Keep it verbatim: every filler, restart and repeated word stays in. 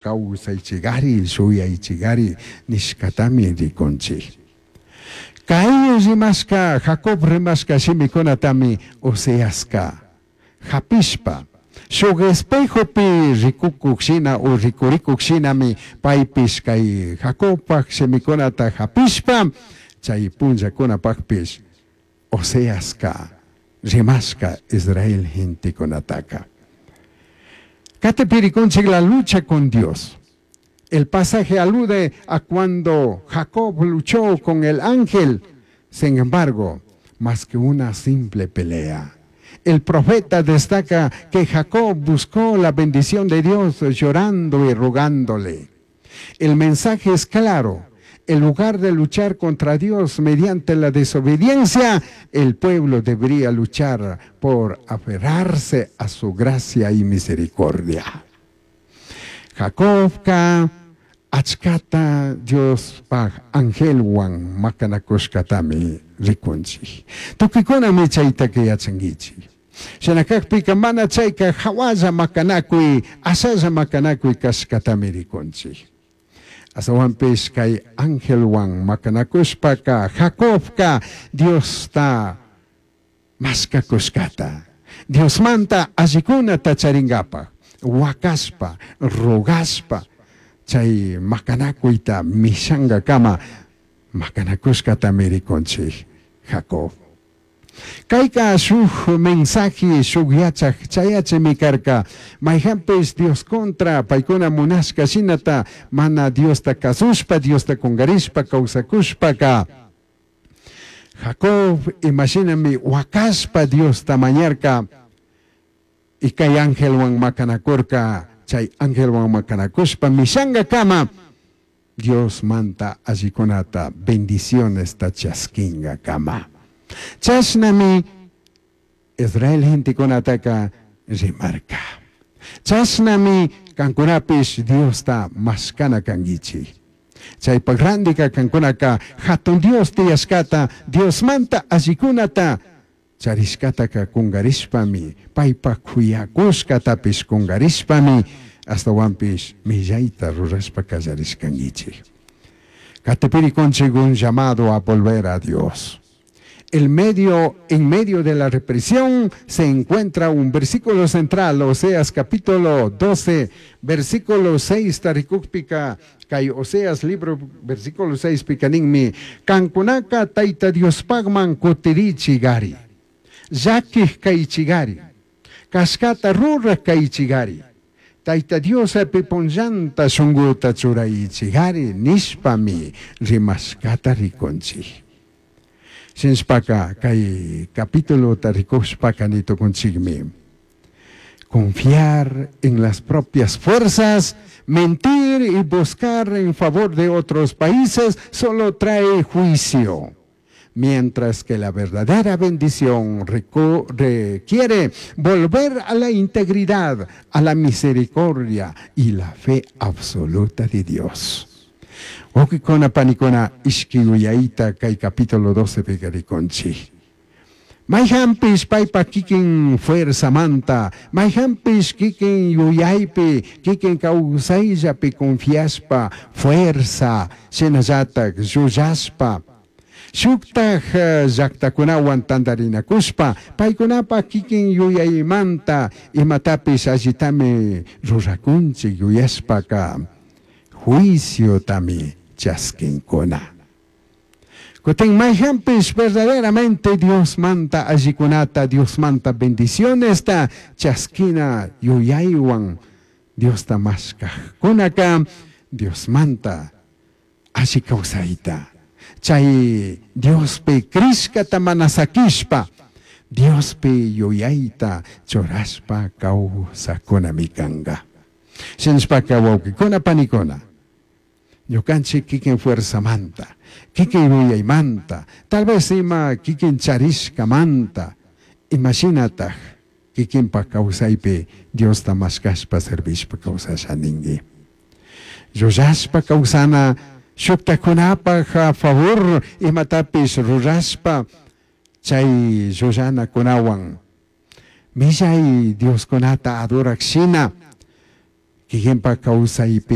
Kawsaychigari, shuyaychigari nishkatami rikunchik. Kay rimashka, Jacob rimashka shimikunatami Oseaska hapishpa, shuk espejopi rikukuk shina o rikurikuk shinami paypish kay Jacobpak shimikunata hapishpa, chay punllakunapakpish Oseaska rimashka Israel gentekunataka. Katipi rikunchik la lucha con Dios. El pasaje alude a cuando Jacob luchó con el ángel. Sin embargo, más que una simple pelea. El profeta destaca que Jacob buscó la bendición de Dios llorando y rogándole. El mensaje es claro. En lugar de luchar contra Dios mediante la desobediencia, el pueblo debería luchar por aferrarse a su gracia y misericordia. Jacobka achkata Diospaj angelwan makanakushkatami rikunchik. Tukuykunami chaytaka yachankichik. Shina kakpika mana chayka hawalla makanakuy, ashalla makanakuy kashkatami rikunchik. Astawanpish kay angelwan makanakushpaka Jacobka Diosta mashkakushkata. Diosmanta allikunata charingapaj, wakashpa, rogashpa, chay makanakuyta mishankakama makanakushkatami rikunchik Jacob. Kayka shuk mensaje shuk yachak chayachimi karka mayhanpish Dios contra paykuna munashka shinata mana Diosta kasushpa Diosta kungarishpa kawsakushpaka Jacob imashinami wakashpa Diosta mañarka y kay angelwan makanakurka chay angelwan makanakushpa mishankakama Dios manta allikunata bendiciones ta chaskinkakama. Chashnami Israel gentekunataka rimarka. Chashnami kankunapish Diosta mashkana kankichik. Chaypak randika kankunaka hatun Dios tiyashkata Diosmanta allikunata charishkataka kungarishpami paypak kuyakushkatapish kungarishpami astawanpish millayta rurashpa kallarishkankichik. Katipi rikunchik un llamado a volver a Dios. El medio, en medio de la represión se encuentra un versículo central, Oseas capítulo doce, versículo seis, tarikukpika, kay Oseas libro, versículo seis, pika ninmi, kankunaka taita Diospagman kutirichigari, llakij kaychigari, kashkata ruraj kaychigari, taita Dios punllanta shunguta churaychigari, nishpami rimashkata rikunchik. Shinshpaka kay capítulo tarikushpaka nitukunchikmi. Confiar en las propias fuerzas, mentir y buscar en favor de otros países solo trae juicio. Mientras que la verdadera bendición reco-, requiere volver a la integridad, a la misericordia y la fe absoluta de Dios. Wawkikuna panikuna ishki yuyayta kay capítulo doce pika rikunchik. Mayhanpish paypa kikin fuerzamanta, mayhanpish kikin yuyaypi, kikin kawsayllapi confiashpa, fuerza, shinallatak llullashpa, shuktaj, eh, llaktakunawan tantarinakushpa, paykunapa kikin yuyaymanta imatapish allitami rurakunchik yuyashpaka juiciotami chaskinkuna. Kutin mayhanpish verdaderamente Dios manta allikunata, Dios manta bendicionesta chaskina yuyaywan Diosta mashkajkunaka, Dios manta alli kawsayta. Chay Diospi krishkata mana sakishpa, Diospi yuyayta churashpa kawsakunami kanka. Shinashpaka wawkikuna panikuna, ñukanchik kikin fuerzamanta, kikin yuyaymanta, tal vez ima kikin charishkamanta, imashinataj kikinpak kawsaypi Diosta mashkashpa servishpa kawsasha ninki. Llullashpa kawsana shuktakunapak a favor imatapish rurashpa chay llullanakunawan millay Dioskunata adorak shina Kikinpak kawsaypi